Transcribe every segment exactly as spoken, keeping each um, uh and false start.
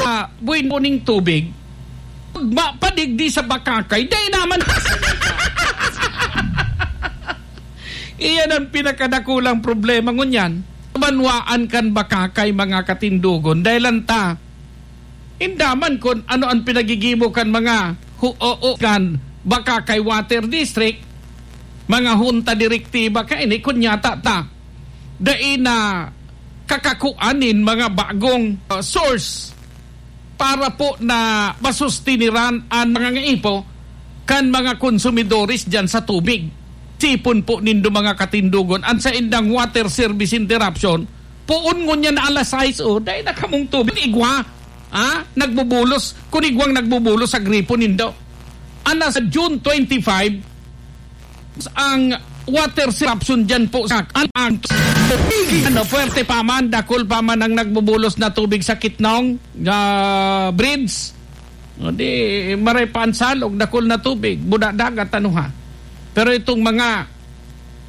ah, buin-buning tubig, ma-, padigdi sa Bacacay, dai naman. Iyan ang pinakadakulang problema ngunyan. Banwaan kan Bacacay, mga katindogon, dahil lang ta, indaman kun ano ang pinagigibo kan mga hu-, o, o, kan Bacacay Water District, mga hunta direktiba kaini, kun yata ta, dai na kakakuan nin mga bagong, uh, source para po na masustiniran an mga ngaipo kan mga konsumidores diyan sa tubig. Sipon po nindo, mga katindogon, an saindang water service interruption, poon ngunyan na alas sais, oh, dai na kamong tubig. Igwa, ah, nagbubulos, kun igwang nagbubulos sa gripo nindo. Ana sa June twenty-five, ang water disruption dyan po sa ang, ang ano, puwerte pa man, dakul pa man ang nagbubulos na tubig sa Kitnong, ah, bridge. O di, maray pa ang salog, dakul na tubig, buda dagat, ano ha. Pero itong mga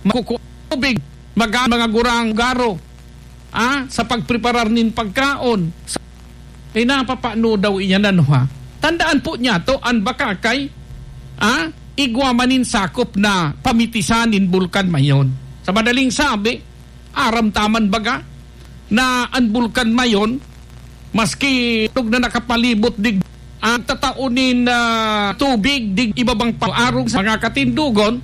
makuku-, tubig, maga-, mga gurang garo, ah, sa pagpreparar nin pagkaon. Sa, eh, napapano daw iyan, ano, ha? Tandaan po niya to, ang Bacacay, ah, igwa man nin sakop na pamitisan nin Bulkan Mayon. Sa madaling sabi, aram ta man baga na ang Bulkan Mayon, maski tug na nakapalibot dig, ang tatao nin, ah, tubig dig ibabang paarong sa mga katindogon,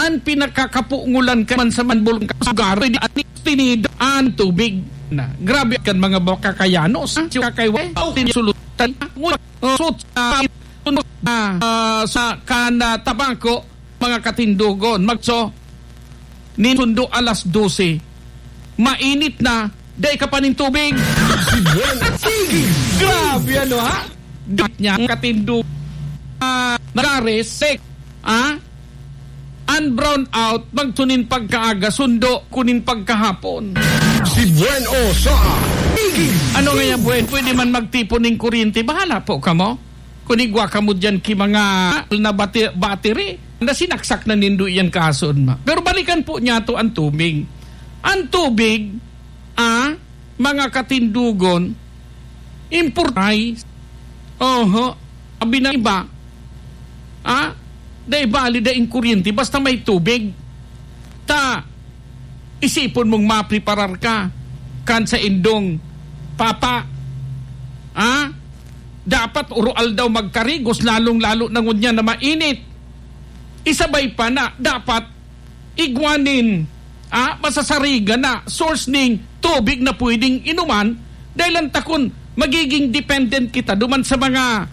An pinakakapungulan ka man sa man bulkan ka sugar, pwede ani tinido an tubig na. Grabe kan mga Bacakayanos, ha? Siya kay wa, tinisulot, oh, sut-, ah, ah, sa kan, ah, tabako, mga katindogon. Magso, nin sundo alas dose. Mainit na, dai ka pa nin tubig. Si Buen Tigig. Grabe, ano, ha? Gat niya, katindog. Ah, nagares, sek, ah? An brown out, magsunin pagkaaga, sundo, kunin pagkahapon. Si Buen o sa Tigig. Ano nga yan, Buen? Pwede man magtipon ning kuryente. Bahala po kamo. Kung igwa kamo dyan ki mga na bati-, battery, na sinaksak na nindo yan kason ma. Pero balikan po niya to ang tubig. Ang tubig, ah, mga katindugon, importay. Oho. Abi na iba, ah, dai bali, daing kuryente, basta may tubig. Ta, isipon mong mapreparar ka kan sa indong papa. Ah, dapat uro aldaw magkarigos, lalong-lalo na ngunyan na mainit. Isabay pa na dapat igwa nin, ah, masasarigan na source ning tubig na pwedeng inuman, dahil ang takon magiging dependent kita duman sa mga,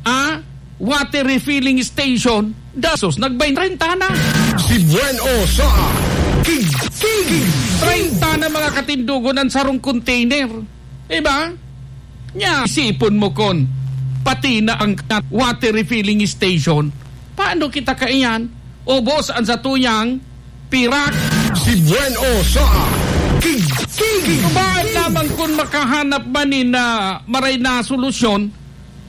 ah, water refilling station. Dasos, nagbayn treinta na. Si Buen o sa Tig-, Tigig. Treinta na mga katindugon ang sarong container. Diba? Nya, isipon mo kon pati na ang water refilling station. Paano kita kaiyan? Ubos ang satuyang pirak. Si Buen o sa Tig-, Tigig. Baan lamang kun makahanap man ni na maray na solusyon,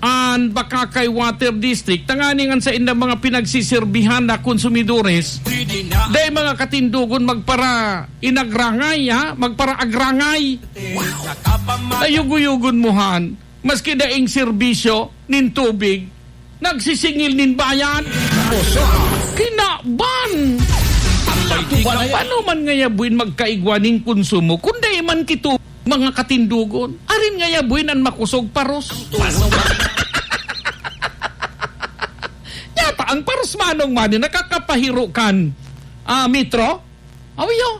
an Bacacay Water District, tanganing an saindang mga pinagsisirbihan na konsumidores, dai mga katindugon magpara inagrangay, ha? Magpara agrangay. Ayugoyugon mo han, maski daing serbisyo nin tubig, nagsisingil nin bayad. Kinaban! Paano man ngaya buin magkaigwa nin konsumo, kun dai man kito mga katindugon? Arin ngaya buin an makosog paros? Yata ang paros manong mani nakakapahiro kan, ah, metro? Awiyo.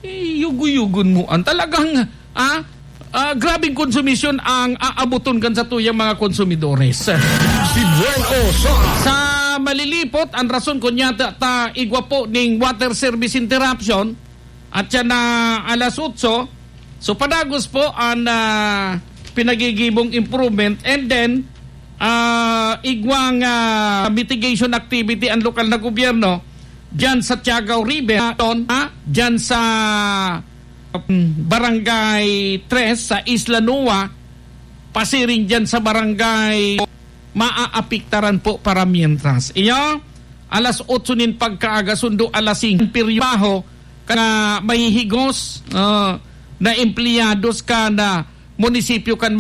Iyugoyugon mo an talagang, ah, ah, grabeng konsumisyon ang aaboton kan satuyang mga konsumidores. Si Buen o sa Sa malilipot, ang rason kunyata ta igwa po ning water service interruption, at siya na alas otso. So, padagos po ang, ah, pinagigibong improvement. And then, ah, igwang, ah, mitigation activity ang lokal na gobyerno dyan sa Tiagao River, ah, dyan sa, mm, Barangay Tres sa Isla Nua, pasiring dyan sa barangay, maaapektaran po para mientras. Iyo, alas otso nin pagkaaga, sundo alas singko, piryabaho, ka mahihigos, ah, na empleyados kan munisipyo kan